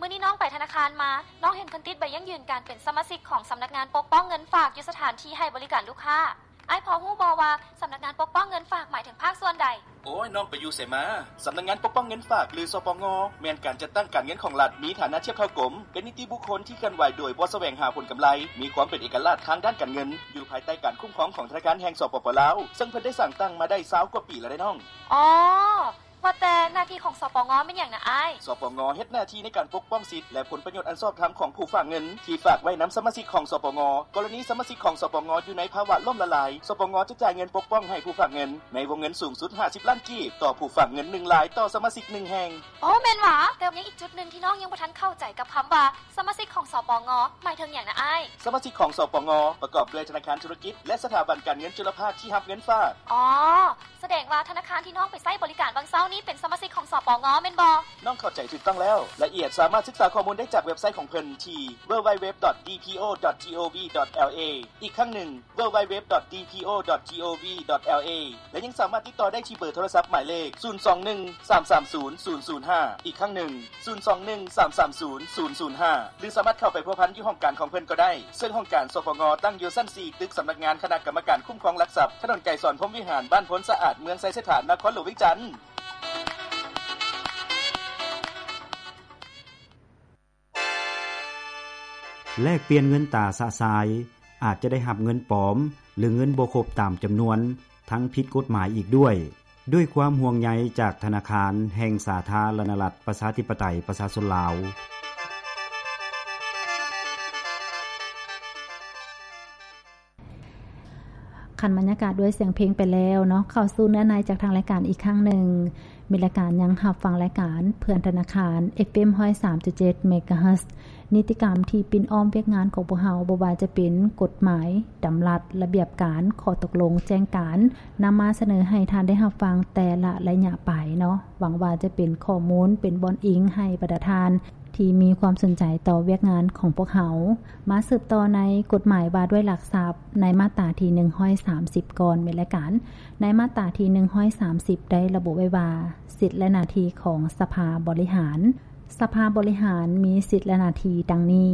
ມື້ນີ້ນ້ອງໄປທະນາຄານມາ, ນ້ອງເຫັນເພິ່ນຕິດໃບຢັ້ງຢືນການເປັນສະມາຊິກຂອງສຳນັກງານປົກປ້ອງເງິນຝາກຢູ່ສະຖານທີ່ໃຫ້ບໍລິການລູກຄ້າ. ອ້າຍພໍຮູ້ບໍ່ວ່າສຳນັກງານປົກປ້ອງເງິນຝາກໝາຍເຖິງພາກສ່ວນໃດ? ໂອ້ຍ, ນ້ອງໄປຢູ່ໃສມາ? ສຳນັກງານປົກປ້ອງເງິນຝາກ ຫຼື ສປງ ແມ່ນການຈັດຕັ້ງການເງິນຂອງລັດ, ມີຖານະທຽບເທົ່າກົມ, ເປັນນິຕິບຸກຄົນທີ່ເຄື່ອນໄຫວໂດຍບໍ່ສະແຫວງຫາຜົນກຳໄລ, ມີຄວາມເປັນເອກະລາດທາງດ້ານການເງິນ, ຢູ່ພາຍໃຕ້ການຄຸ້ມຄອງຂອງທະນາຄານແຫ່ງ ສປປ ລາວ, ເຊິ່ງເພິ່ນໄດ້ສ້າງຕັ້ງມາໄດ້ຊາວກວ່າປີແລ້ວເດ້ນ້ອງ. ອໍ ວ່າແຕ່ໜ້າທີ່ຂອງ ສປງ ແມ່ນຫຍັງນະອ້າຍ? ສປງ ເຮັດໜ້າທີ່ໃນການປົກປ້ອງສິດ ແລະ ຜົນປະໂຫຍດອັນຊອບທຳຂອງຜູ້ຝາກເງິນທີ່ຝາກໄວ້ນຳສະມາຊິກຂອງ ສປງ. ກໍລະນີສະມາຊິກຂອງ ສປງ ຢູ່ໃນພາວະລົ້ມລະລາຍ, ສປງ ຈະຈ່າຍເງິນປົກປ້ອງໃຫ້ຜູ້ຝາກເງິນໃນວົງເງິນສູງສຸດຫ້າສິບລ້ານກີບຕໍ່ຜູ້ຝາກເງິນໜຶ່ງລາຍຕໍ່ສະມາຊິກໜຶ່ງແຫ່ງ. ໂອ້ ແມ່ນຫວາ? ແຕ່ຍັງອີກຈຸດໜຶ່ງທີ່ນ້ອງຍັງບໍ່ທັນເຂົ້າໃຈກັບຄຳວ່າ ສະມາຊິກຂອງ ສປງ ໝາຍເຖິງຫຍັງນະອ້າຍ? ສະມາຊິກຂອງ ສປງ ປະກອບດ້ວຍທະນາຄານທຸລະກິດ ແລະ ສະຖາບັນການເງິນຈຸລະພາກທີ່ຮັບເງິນຝາກ. ອໍ ສະແດງວ່າທະນາຄານທີ່ນ້ອງໄປໃຊ້ບໍລິການຫວ່າງເຊົ້ານີ້ເປັນສະມາຊິກຂອງ ສປງ ແມ່ນບໍ່? ນ້ອງເຂົ້າໃຈຖືກຕ້ອງແລ້ວ. ລາຍລະອຽດສາມາດສຶກສາຂໍ້ມູນໄດ້ຈາກເວັບໄຊຂອງເພິ່ນທີ່ www.dpo.gov.la ອີກຄັ້ງໜຶ່ງ www.dpo.gov.la ແລະ ຍັງສາມາດຕິດຕໍ່ໄດ້ທີ່ເບີໂທລະສັບໝາຍເລກ ສູນສອງໜຶ່ງ ສາມສາມສູນ ສູນສູນຫ້າ ອີກຄັ້ງໜຶ່ງ ສູນສອງໜຶ່ງ ສາມສາມສູນ ສູນສູນຫ້າ ຫຼື ສາມາດເຂົ້າໄປພົວພັນຢູ່ຫ້ອງການຂອງເພິ່ນກໍໄດ້, ເຊິ່ງຫ້ອງການ ສປງ ຕັ້ງຢູ່ຊັ້ນສີ່ ຕຶກສຳນັກງານຄະນະກຳມະການຄຸ້ມຄອງຫຼັກຊັບ, ຖະໜົນໄກສອນ ພົມວິຫານ, ບ້ານໂພນສະອາດ, ເມືອງໄຊເສດຖາ, ນະຄອນຫຼວງວຽງຈັນ. ແລກປ່ຽນເງິນຕາຊະຊາຍ ອາດຈະໄດ້ຮັບເງິນປອມ ຫຼື ເງິນບໍ່ຄົບຕາມຈຳນວນ ທັງຜິດກົດໝາຍອີກດ້ວຍ. ດ້ວຍຄວາມຫ່ວງໃຍຈາກທະນາຄານແຫ່ງສາທາລະນະລັດ ປະຊາທິປະໄຕ ປະຊາຊົນລາວ. ຂັ້ນບັນຍາກາດດ້ວຍສຽງເພງໄປແລ້ວເນາະ, ເຂົ້າສູ່ເນື້ອໃນຈາກທາງລາຍການອີກຄັ້ງໜຶ່ງ. ມີລາຍການຍັງຮັບຟັງລາຍການເພື່ອນທະນາຄານ ເອຟເອັມຮ້ອຍສາມຈຸດເຈັດ ເມກາເຮີດ. ນິຕິກຳທີ່ປິ່ນອ້ອມວຽກງານຂອງພວກເຮົາ, ບໍ່ວ່າຈະເປັນກົດໝາຍ, ດຳລັດ, ລະບຽບການ, ຂໍ້ຕົກລົງ, ແຈ້ງການ, ນຳມາສະເໜີໃຫ້ທ່ານໄດ້ຮັບຟັງແຕ່ລະໄລຍະໄປເນາະ. ຫວັງວ່າຈະເປັນຂໍ້ມູນ, ເປັນບ່ອນອີງໃຫ້ບັນດາທ່ານ ທີ່ມີຄວາມສົນໃຈຕໍ່ວຽກງານຂອງພວກເຮົາ. ມາສືບຕໍ່ໃນກົດໝາຍວ່າດ້ວຍຫຼັກຊັບ ໃນມາດຕາທີໜຶ່ງຮ້ອຍສາມສິບກ່ອນແມ່ນລາຍການ. ໃນມາດຕາທີໜຶ່ງຮ້ອຍສາມສິບໄດ້ລະບຸໄວ້ວ່າ ສິດ ແລະ ໜ້າທີ່ຂອງສະພາບໍລິຫານ. ສະພາບໍລິຫານມີສິດ ແລະ ໜ້າທີ່ດັ່ງນີ້: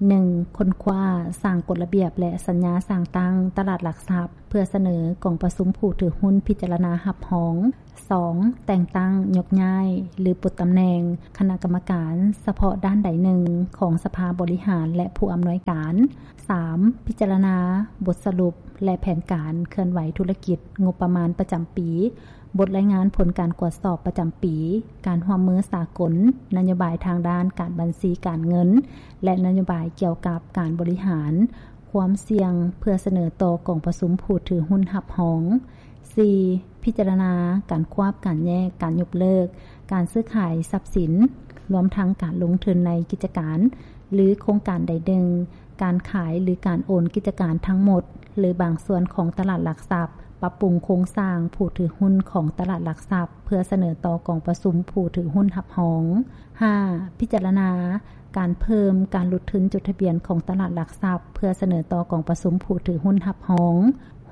ໜຶ່ງ, ຄົ້ນຄວ້າ, ສ້າງກົດລະບຽບ ແລະ ສັນຍາສ້າງຕັ້ງຕະຫຼາດຫຼັກຊັບ ເພື່ອສະເໜີກອງປະຊຸມຜູ້ຖືຮຸ້ນພິຈາລະນາຮັບຮອງ. ສອງ, ແຕ່ງຕັ້ງ, ຍົກຍ້າຍ ຫຼື ປົດຕຳແໜ່ງຄະນະກຳມະການສະເພາະດ້ານໃດໜຶ່ງຂອງສະພາບໍລິຫານ ແລະ ຜູ້ອຳນວຍການ. ສາມ, ພິຈາລະນາບົດສະຫຼຸບ ແລະ ແຜນການເຄື່ອນໄຫວທຸລະກິດ, ງົບປະມານປະຈຳປີ, ບົດລາຍງານຜົນການກວດສອບປະຈຳປີ, ການຮ່ວມມືສາກົນ, ນະໂຍບາຍທາງດ້ານການບັນຊີການເງິນ ແລະ ນະໂຍບາຍກ່ຽວກັບການບໍລິຫານຄວາມສ່ຽງ ເພື່ອສະເໜີຕໍ່ກອງປະຊຸມຜູ້ຖືຮຸ້ນຮັບຮອງ. ສີ່, ພິຈາລະນາການຄວບ, ການແຍກ, ການຍົກເລີກການຊື້ຂາຍຊັບສິນ, ລວມທັງການລົງທຶນໃນກິດຈະການ ຫຼື ໂຄງການໃດໜຶ່ງ, ການຂາຍ ຫຼື ການໂອນກິດຈະການທັງໝົດ ຫຼື ບາງສ່ວນຂອງຕະຫຼາດຫຼັກຊັບ, ປັບປຸງໂຄງສ້າງຜູ້ຖືຮຸ້ນຂອງຕະຫຼາດຫຼັກຊັບ ເພື່ອສະເໜີຕໍ່ກອງປະຊຸມຜູ້ຖືຮຸ້ນຮັບຮອງ. ຫ້າ, ພິຈາລະນາການເພີ່ມ, ການຫຼຸດທຶນຈົດທະບຽນຂອງຕະຫຼາດຫຼັກຊັບ ເພື່ອສະເໜີຕໍ່ກອງປະຊຸມຜູ້ຖືຮຸ້ນຮັບຮອງ.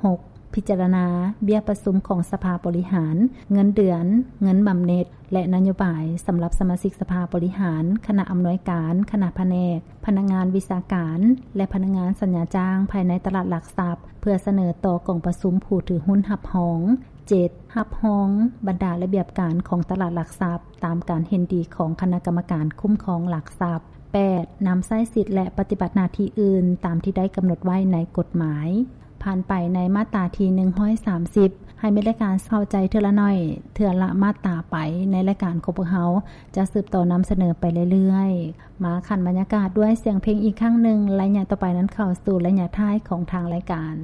ຫົກ, ພິຈາລະນາເບ້ຍປະຊຸມຂອງສະພາບໍລິຫານ, ເງິນເດືອນ, ເງິນບຳເນັດ ແລະ ນະໂຍບາຍສຳລັບສະມາຊິກສະພາບໍລິຫານ, ຄະນະອຳນວຍການ, ຄະນະພະແນກ, ພະນັກງານວິຊາການ ແລະ ພະນັກງານສັນຍາຈ້າງພາຍໃນຕະຫຼາດຫຼັກຊັບ ເພື່ອສະເໜີຕໍ່ກອງປະຊຸມຜູ້ຖືຮຸ້ນຮັບຮອງ. ເຈັດ, ຮັບຮອງບັນດາລະບຽບການຂອງຕະຫຼາດຫຼັກຊັບ ຕາມການເຫັນດີຂອງຄະນະກຳມະການຄຸ້ມຄອງຫຼັກຊັບ. ແປດ, ນຳໃຊ້ສິດ ແລະ ປະຕິບັດໜ້າທີ່ອື່ນຕາມທີ່ໄດ້ກຳນົດໄວ້ໃນກົດໝາຍ. ຜ່ານໄປໃນມາດຕາທີໜຶ່ງຮ້ອຍສາມສິບ ໃຫ້ແມ່ນລາຍການເຂົ້າໃຈເທື່ອລະໜ້ອຍ, ເທື່ອລະມາດຕາໄປ. ໃນລາຍການຂອງພວກເຮົາຈະສືບຕໍ່ນຳສະເໜີໄປເລື້ອຍໆ. ມາຂັ້ນບັນຍາກາດດ້ວຍສຽງເພງອີກຄັ້ງໜຶ່ງ. ໄລຍະຕໍ່ໄປນັ້ນເຂົ້າສູ່ໄລຍະທ້າຍຂອງທາງລາຍການ.